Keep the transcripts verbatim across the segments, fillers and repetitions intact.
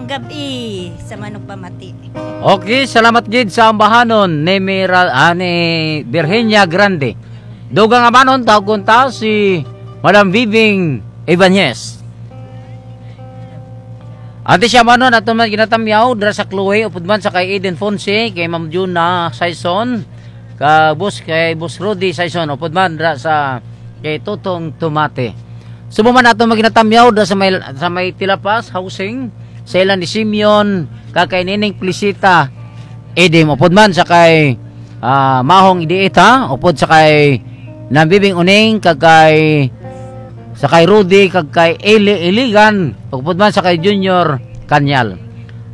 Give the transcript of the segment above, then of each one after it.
Gabi sa manugpamati. Okay, salamat gid sa ambahanon ni Mira, ah, ni Virginia Grande. Dugang amanon, tawgon ta si Madam Viving Ibanez. Ate siya manon, ato man ginatamyaw dira sa Chloe, upod man sa kay Eden Fonse, kay Ma'am Juna Saison, ka boss, kay Boss Rudy Saison, upod man dira sa kay Totong Tomate. Subong man ato maginatamyaw dira sa may, sa may Tilapas housing, sa ilan ni Simeon, kag kay Nining Plisita Edim, upod man sa kay, ah, Mahong Idiita, upod sa kay Nabibing Uning, kag kay, sa kay Rudy, kag kay Eli Iligan, upod man sa kay Junior Kanyal.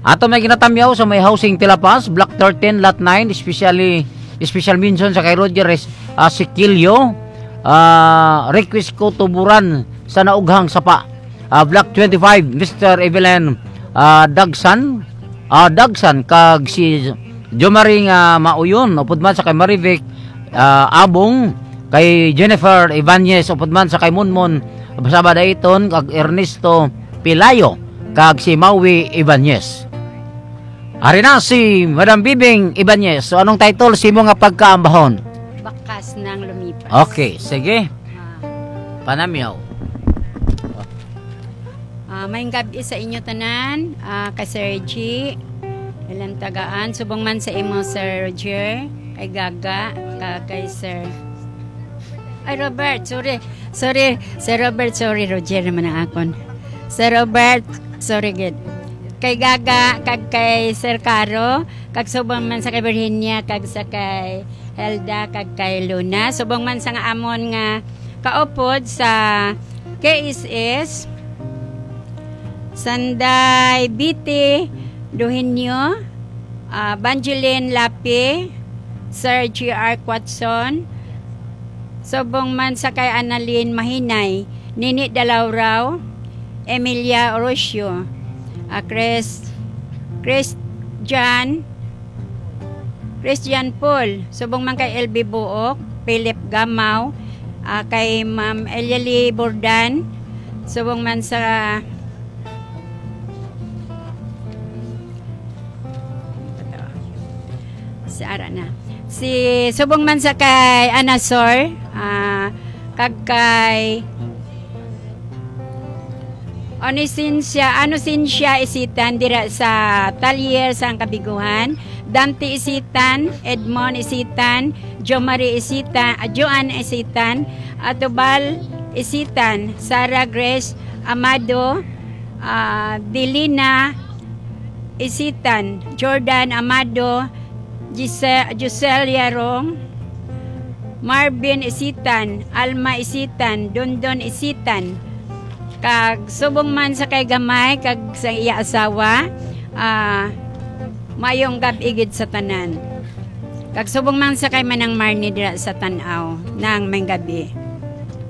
Ato may ginatamyaw sa may housing Tilapas, Block thirteen, Lot nine, especially, special mention sa kay Roger Res-, ah, Siquilio, ah, request ko tuburan sa naughang sapa. Ah, Block twenty-five, Mister Evelyn, ah, Dagsan, ah, Dagsan, kag si Jomari nga Mauyon, upod man sa kay Marivic, ah, Abong, kay Jennifer Ibanez, upod man sa kay Monmon Sabadaiton, kag Ernesto Pilayo, kag si Maui Ibanez. Ari na si Madam Bibing Ibanez. So, anong title sa imo nga pagkaambahon? Bakas ng lumipas. Okay, sige. Ah, Panamyaw. ah, maayong gabi sa inyo tanan, ah, kay Sir G, ilang tagaan, subong man sa imo, Sir Roger, kay Gaga, kag kay Sir, ay, Robert, sorry. Sorry, Sir Robert, sorry, Roger naman ang akon. Sir Robert, sorry gid. Kay Gaga, kag kay Sir Caro, kag subong man sa kay Virginia, kag sa kay Helda, kag kay Luna. Subong man sa nga amon nga kaupod sa K S S, Sanday Biti Duhinyo, ah, Banjilin Lapi, Sir G R Quatson, subong man sa kay Annalyn Mahinay, Nini Dalaurao, Emilia Orocio, ah, Chris, Christian, Christian Paul, subong man kay L B Buok, Philip Gamaw, ah, kay Ma'am Elialie Bordan, subong man sa, si ara na. Si, subong man sa kay Anasor, ah, kag kay Onisincia, Onisincia Isitan dira sa Talyer sang Kabiguhan, Dante Isitan, Edmond Isitan, Jomari Isitan, ah, Joan Isitan, Atubal Isitan, Sarah Grace Amado, ah, Delina Isitan, Jordan Amado, Gise-, Giselle Yarong, Marvin Isitan, Alma Isitan, Dondon Isitan, kag subong man sa kay Gamay kag sa iya asawa, ah, maayong gab-i gid sa tanan. Kag subong man sa kay Manang Marnie dira sa Tan-aw, nang maayong gab-i.